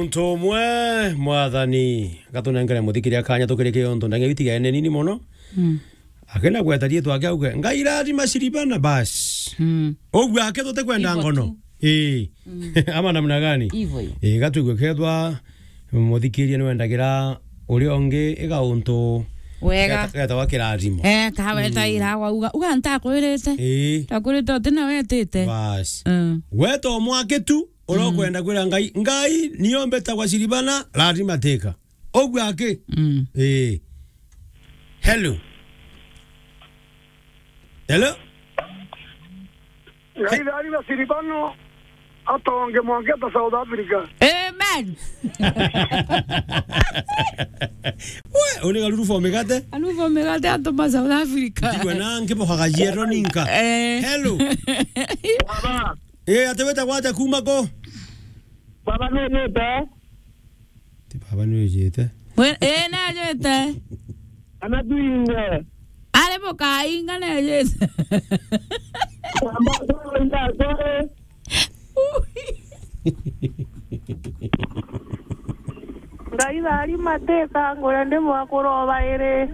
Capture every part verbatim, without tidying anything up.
Muntu umwe, Mwathani, gatunengere muthikiria kanya tukirikie untu ndagi itigaene nini mono. Mm. Akenda gweta riitwa ake auge, "Ngai rathima Siribana," basi. Mm. Uguo ake tutikwenda Hivyo ngono. Tu. Ii. Mm. Ama namna gani? Hivyo hiyo. Ii, gatwigue kethwa muthikiria niwendagira uria ungi iga untu Wega. Geta-, getawa kirathimo. Eh, kaweta Mm. ira wauga, "Uga ntakwirite." Ii. Takwirite uti na wetite. Basi. Mm. Weta umwaki tu, uria Mm. ukwenda kwira Ngai, "Ngai, nio mbetagwa Siribana, lazima teka." Uguo aki? Mm. Ii. Hello. Hello? Ngai thari na Siribano atonge mwanke ta South Africa. Amen. We, uni garuru for migate? Aruvo migate atuma South Africa. Ndigwe na nkibokaga yero ninka. Eh. Hello. Baba. Eh, ati weta gwate kuma ko? Baba, nujite? Ti baba nujite. We, eh, najite. Ana tuinge. Ari mukainga nejite. Baba, sorry, sorry. Ngai thari mateka ngure ndi mwakuro bairi.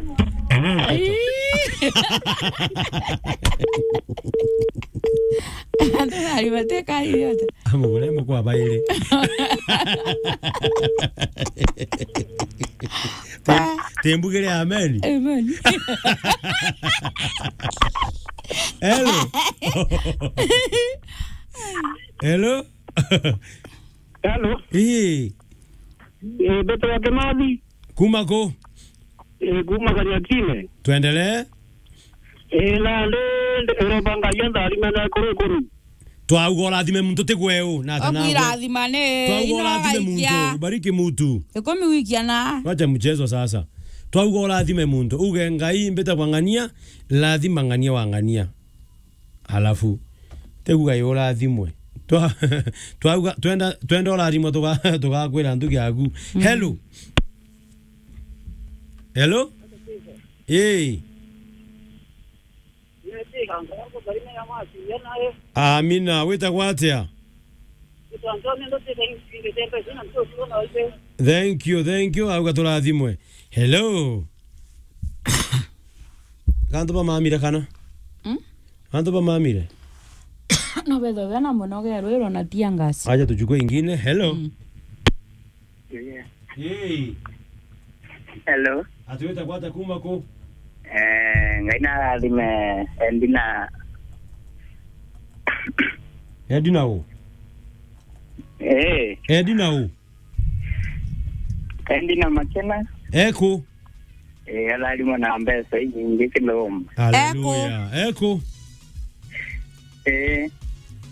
Andu thari mateka yote. Amugure mukwa bairi. Te-, tembugire amen. Amen. Hello. Hello. Hello. Ii. Eh, Betero wa Kimathi. Kuma ku? Eh, kuma Kanyatine. Twendelee. Eh, na ndi, ndi, uromba Ngai antharime na kuru kuru. Twauga urathime muntu ti gweu, na ata nawe? Okwirathima ni Twauga ino urathime muntu, gaikia. Ubariki mutu. Ikumi wikia na. Wacha mchezo sasa. Twauga urathime muntu, uge, "Ngai, mbita kwa ng'ania, lathima ng'ania wa ng'ania." Alafu, tiguga yo urathimwe. Twa-, twauga, twenda, twenda urathimwe, tuga-, tugakwira ntugi yaku. Mm. Hello? Hello? Ii. Amina, witagwa atia? Thank you, thank you. Auga turathimwe. Hello? Gantu bamamire kana? Mm? Gantu bamamire? No betho bena muno gerwiro na tear gas. Acha tuchukue ingine. Hello? Mm. Yeah. Hey. Hello. Ati weta gwata kuma ku? Eh, Ngai na arathime Edina. Edina u? Eh. Edina u? Edina Makena. Eku? Eh, arathimwa na mbeca inyingi kiloma. Hallelujah. Eku? Eku? Eh.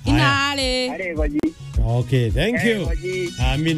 Ina ari. Ari goji. Okay, thank you. Eh, goji. Amina.